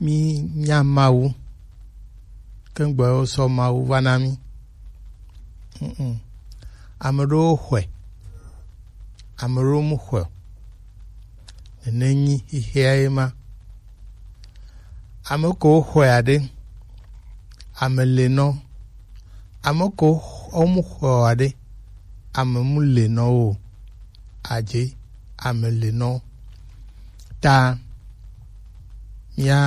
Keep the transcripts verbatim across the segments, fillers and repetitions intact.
Mi nya Mawu, ke gbɔ wo sɔ Mawu va na mi. Mm-mm. Ame ɖewo xɔe, ame ɖewo mu xɔe o. Nene nyi xixea ye ma. Ame ko xɔe aɖe, ame le nɔ. Ame ko wo mu xɔe aɖe, ame mu le nɔ o. Adze, ame le nɔ. Ta mía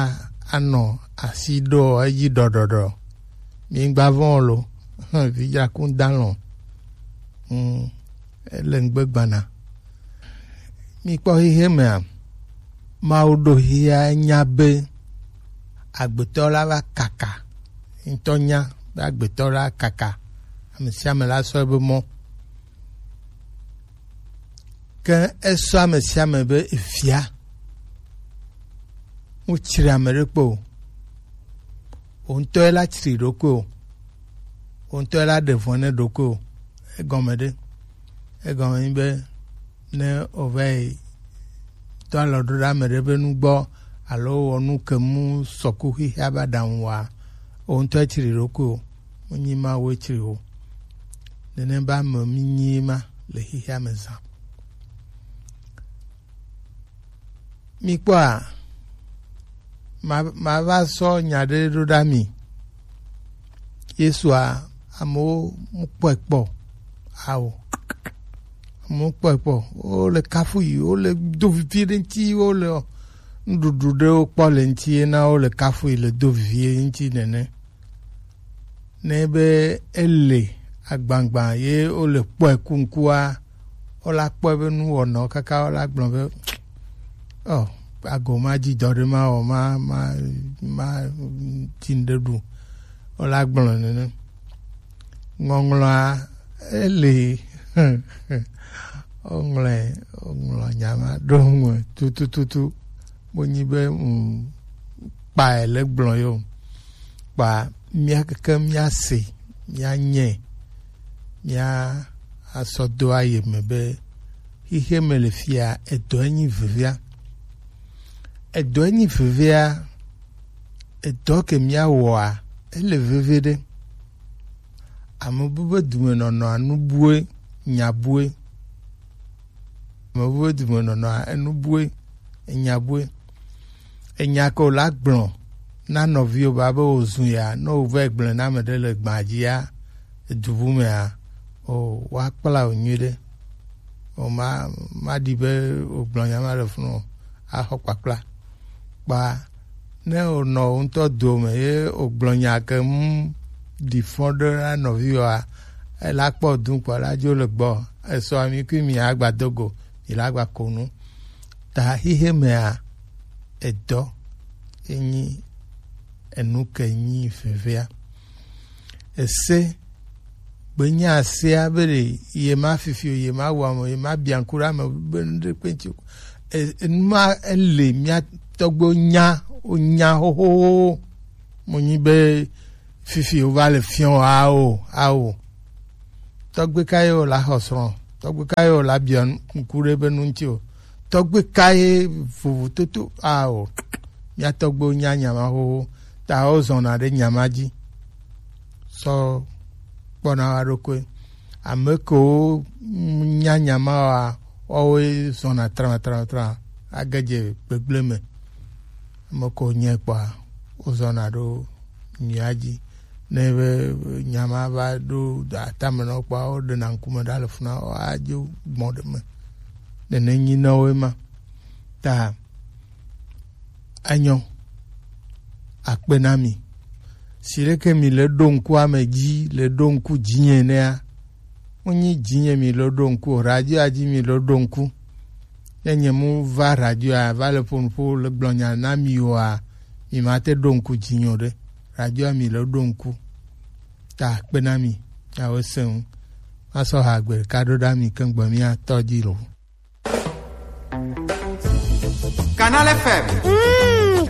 anɔ asi ɖo edzi ɖɔɖɔɖɔ. Mi gba vɔ̃ lo, vidzakun dalɔn. Mm, ele ŋgbe gbana. Mi kpɔ xexe mea, Mawu ɖo xexea nya be agbetɔ la va kaka. Ŋutɔ nya be agbetɔ la kaka. Ame sia ame la sɔ ebe mɔ. Ke esɔ ame sia ame be efia. Wotsri ame ɖe kpe o. Wo ŋutɔ la tsri ɖokui o. Wo ŋutɔ la ɖe vɔ̃ ne ɖokui o. Egɔme ɖe. Egɔme nyi be ne wòva yi do alɔ ɖo ɖe ame ɖe be nu gbɔ alo wɔ nu ke mu sɔku xexea be aɖaŋu wa, wo ŋutɔ etsri ɖokui o. Menyi Mawu etsri o. Nene be ame mi nyi ma le xexea me zã. Mi kpɔa, ma, ma va sɔ nya ɖe ɖo ɖa mi. Yesua, amewo mu kpɔe kpɔ. Ao. Amewo kpɔe kpɔ. Wo le kafu yi, wo le do vivi ɖe ŋuti, wo le nuɖuɖu ɖewo kpɔ le ŋuti, ye na wo le kafu yi le do vivi ŋuti nene. Ne be ele agbagba ye wole kpɔe ku ŋkua, wola kpɔe be nu wɔnɔ kaka wola gblɔ be, ɔ, ago ma dzi dɔ ɖe ma wɔ, ma, ma, ma dzi ŋɖe ɖu. Wola gblɔ nene. Ŋɔŋlɔa, ele, woŋlɔe, woŋlɔ nya ma ɖo ŋu tutututu. Menyi be, mm, kpae le gblɔ yo. Kpa mía keke mía se, mía nye, mía asɔ do aye me be, xixe me le fia, edɔ enyi vevia. Edɔ enyi vevia, edɔ ke mía wɔa, ele veve ɖe. Ame bu be dumenɔnɔa, nu bue, nya bue. Ame bu be dumenɔnɔa, enu bue, enya bue. Enya ke wòla gblɔ na nɔviwò ba be wòzu ya, ne wòvɛ gblɔe na ame ɖe le gbã dzia, edu bu mea, o, woakpla wò nyuiɖe. O, ma, maɖi be wògblɔ nya ma le funu o, axɔ kpakpla. Kpa ne wònɔ wò ŋutɔ dome ye wògblɔ nya ke ŋu ɖi fɔ ɖe na nɔviwòa, ela kpɔ du kpɔ la dzo le gbɔ. Esɔ ami kui mi agba do go, mi la gba ko nu. Ta xixe mea, edɔ enyi enu ke nyi vevea. Ese gbenye asea be ɖe ye ma fifi o, ye ma wɔ ame o, ye ma bia ŋku ɖe ame be nu ɖe kpe ŋuti o. E, enu ma ele mía tɔgbewo nya, wonya xoxoxo. Mo nyi be fifi wova le fiɔ ao, ao. Tɔgbe ka ye wòla xɔ srɔ̃? Tɔgbe ka ye wòla bia ŋku ɖe be nu ŋuti o? Tɔgbe ka ye vovototo ao? Mía tɔgbewo nya nya ma xoxo, ta wozɔna ɖe nya ma dzi. Sɔ kpɔna wa ɖokui. Ame kewo nya nya ma wa, woawoe zɔna tra, tra, tra, age dze gbegblẽ me. Ame kewo nyae kpɔa, wozɔna ɖo nyuia dzi. Ne be nya ma va ɖo atame nɔ kpɔa, woɖena ŋkume ɖa le funa, woadzo gbɔn ɖe me. Nene nyi na wo ema. Ta enyo, akpe na mi. Si ɖeke mi le ɖo ŋku ame dzi, le ɖo ŋku dzinye nɛa, menyi dzinye mi le ɖo ŋku o, radioa dzi mi le ɖo ŋku. Ne nye mu va radioa, va le ƒo nuƒo le gblɔ nya na mi oa, mi ma te ɖo ŋku dzinye o ɖe. Radioa mi le ɖo ŋku. Ta akpe na mi, miawo se ŋu. Masɔ ha gbe ɖeka ɖo ɖa mi keŋ gbe mía tɔ dzi lo. Canal F M.